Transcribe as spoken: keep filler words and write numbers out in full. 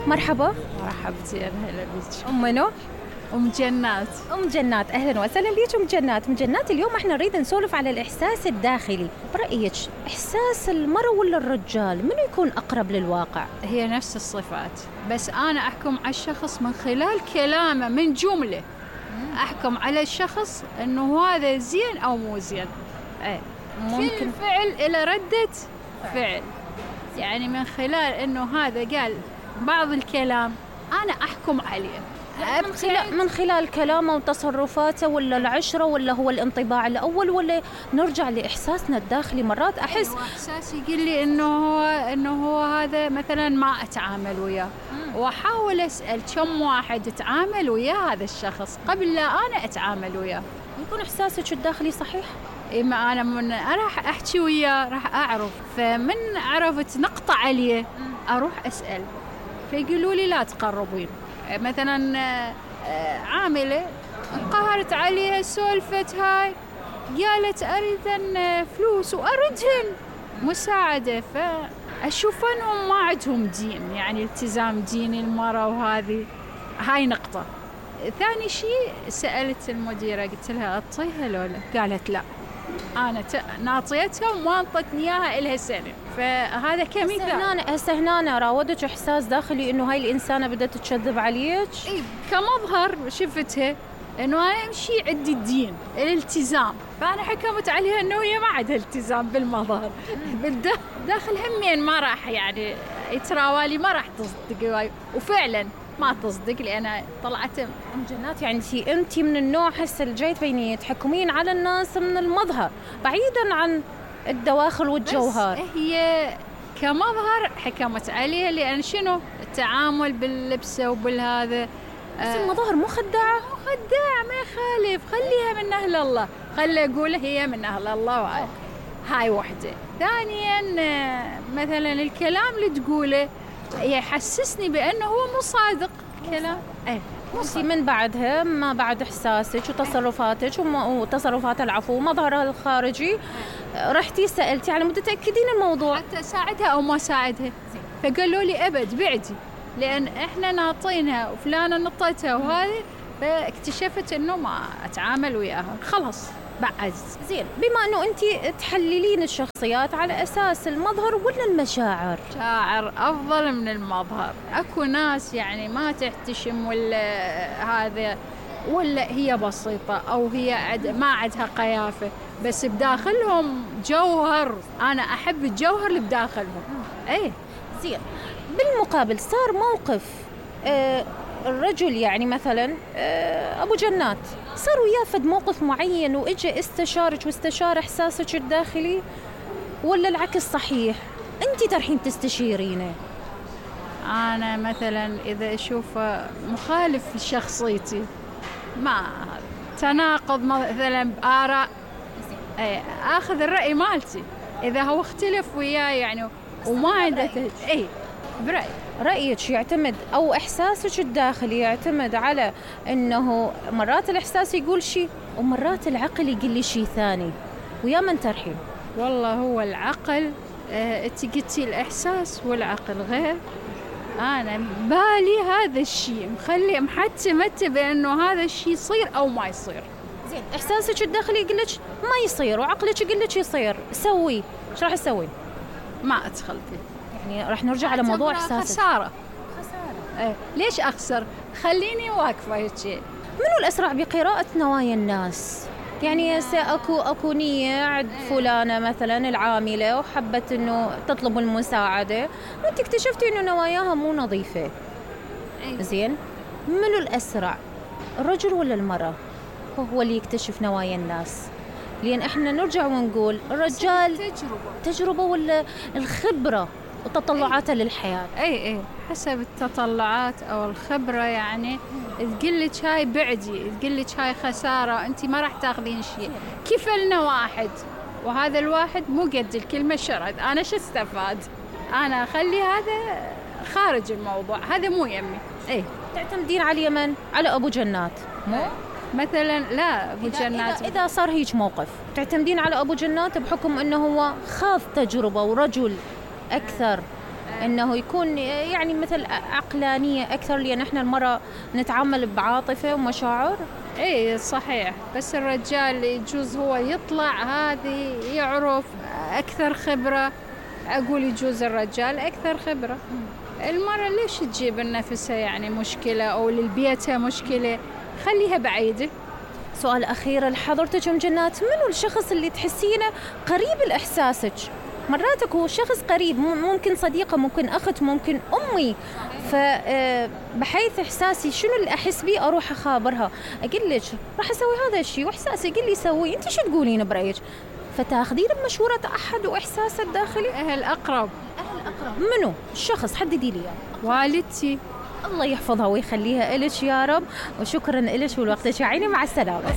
مرحبا. مرحبتين، هلا بيك. أم منو؟ أم جنات. أم جنات، أهلا وسهلا بيك أم جنات. أم جنات، اليوم احنا نريد نسولف على الإحساس الداخلي. برأيك إحساس المرأة ولا الرجال منو يكون أقرب للواقع؟ هي نفس الصفات، بس أنا أحكم على الشخص من خلال كلامه، من جملة أحكم على الشخص إنه هذا زين أو مو زين. إيه، ممكن فعل إلى ردة فعل، يعني من خلال إنه هذا قال بعض الكلام أنا أحكم عليه. من خلال, من خلال كلامه وتصرفاته، ولا العشرة، ولا هو الانطباع الأول، ولا نرجع لإحساسنا الداخلي؟ مرات أحس أيوة، إحساسي يقول لي إنه هو إنه هو هذا مثلاً ما أتعامل وياه، وأحاول أسأل كم واحد أتعامل وياه هذا الشخص قبل لا أنا أتعامل وياه. يكون إحساسك الداخلي صحيح؟ إما أنا من راح أحكي وياه راح أعرف، فمن عرفت نقطة عليه أروح أسأل، فيقولوا لي لا تقربين. مثلا عاملة قهرت عليها، سولفت هاي، قالت أريد أن فلوس وأردهن مساعدة، فأشوف أنهم ما عندهم دين، يعني التزام ديني المرأة، وهذه هاي نقطة. ثاني شيء سألت المديرة قلت لها أعطيها لولا، قالت لا أنا ناطيتها وما انطتني إياها إلها سنة، فهذا كمثال. هسه هنا راودك إحساس داخلي إنه هاي الإنسانة بدأت تكذب عليك؟ إيه، كمظهر شفتها إنه أنا أمشي عندي الدين الالتزام، فأنا حكمت عليها إنه هي ما عندها التزام بالمظهر. بالداخل همين ما راح يعني يتراوالي، ما راح تصدق واي، وفعلا ما تصدق لأن طلعت. أم جنات، يعني أنت من النوع هسه اللي جاي تبيني تحكمين على الناس من المظهر بعيدا عن الدواخل والجوهر. بس هي كمظهر حكمت عليها، لأن شنو التعامل باللبسة وبالهذا. بس المظاهر مو خداعة؟ مو خداعة، ما يخالف، خليها من أهل الله، خلي أقول هي من أهل الله، وهاي هاي وحدة. ثانيا مثلا الكلام اللي تقوله يحسسني بأنه هو مو صادق كلام. ايه، انت من بعدها ما بعد احساسك وتصرفاتك وتصرفات العفو ومظهرها الخارجي رحتي سألتي على مود تتأكدين الموضوع، حتى اساعدها او ما اساعدها، فقالوا لي ابد بعدي، لان احنا ناطينها وفلانه نطيتها وهذه، فاكتشفت انه ما اتعامل وياها، خلاص بعد. زين، بما انه انت تحللين الشخصيات على اساس المظهر ولا المشاعر؟ شاعر افضل من المظهر. اكو ناس يعني ما تحتشم ولا هذا، ولا هي بسيطه او هي عد ما عندها قيافه، بس بداخلهم جوهر. انا احب الجوهر اللي بداخلهم. ايه زين. بالمقابل صار موقف آه الرجل، يعني مثلا آه ابو جنات صار وياه فد موقف معين واجى استشارك واستشار احساسك الداخلي، ولا العكس صحيح انت ترحين تستشيرينه؟ انا مثلا اذا اشوف مخالف لشخصيتي، ما تناقض مثلا باراء، اي اخذ الراي مالتي، اذا هو اختلف وياي يعني وما عنده اي برأي. رأيك يعتمد أو إحساسك الداخلي يعتمد على أنه مرات الإحساس يقول شيء ومرات العقل يقول لي شيء ثاني، ويا من ترحين؟ والله هو العقل، اه انت قلتي الإحساس والعقل غير. أنا بالي هذا الشيء مخلي محتمته بأنه هذا الشيء يصير أو ما يصير. زين، إحساسك الداخلي يقول لك ما يصير وعقلك يقول لك يصير، سوي ايش راح تسوي؟ ما أدخل فيه، يعني راح نرجع على موضوع إحساسك. خسارة. خسارة. إيه. ليش أخسر؟ خليني واقفة هيك. منو الأسرع بقراءة نوايا الناس؟ يعني أكو أكو نية عند فلانة مثلا العاملة وحبت إنه تطلب المساعدة، وأنت اكتشفتي إنه نواياها مو نظيفة. أيه. زين، منو الأسرع، الرجل ولا المرأة هو اللي يكتشف نوايا الناس؟ لأن إحنا نرجع ونقول الرجال تجربة تجربة ولا الخبرة وتطلعاته للحياة. اي اي حسب التطلعات او الخبرة، يعني تقلك هاي بعدي، تقلك هاي خسارة، انت ما راح تاخذين شيء. كفلنا واحد وهذا الواحد مو قد الكلمة شرد، انا شو استفاد؟ انا اخلي هذا خارج الموضوع، هذا مو يمي. اي تعتمدين على اليمن على ابو جنات مو؟ مثلا لا ابو إذا جنات إذا, اذا صار هيك موقف تعتمدين على ابو جنات بحكم انه هو خاض تجربة ورجل اكثر انه يكون يعني مثل عقلانيه اكثر، لان احنا المراه نتعامل بعاطفه ومشاعر. ايه صحيح، بس الرجال يجوز هو يطلع هذه يعرف اكثر خبره، اقول يجوز الرجال اكثر خبره. المرأة ليش تجيب لنفسها يعني مشكله او للبيتها مشكله؟ خليها بعيده. سؤال اخير لحضرتك ام جنات، منو الشخص اللي تحسينه قريب لاحساسك؟ مراتك هو شخص قريب، ممكن صديقة، ممكن أخت، ممكن أمي، فبحيث إحساسي شنو اللي أحس بيه أروح أخابرها، أقول لك راح أسوي هذا الشيء وإحساسي يقول لي سوي، أنت شو تقولين برأيك؟ فتاخذين بمشورة أحد وإحساسه الداخلي. أهل أقرب. أهل أقرب منو؟ الشخص حددي لي. والدتي. الله يحفظها ويخليها إلك يا رب، وشكرا إلك ولوقتك يا عيني، مع السلامة.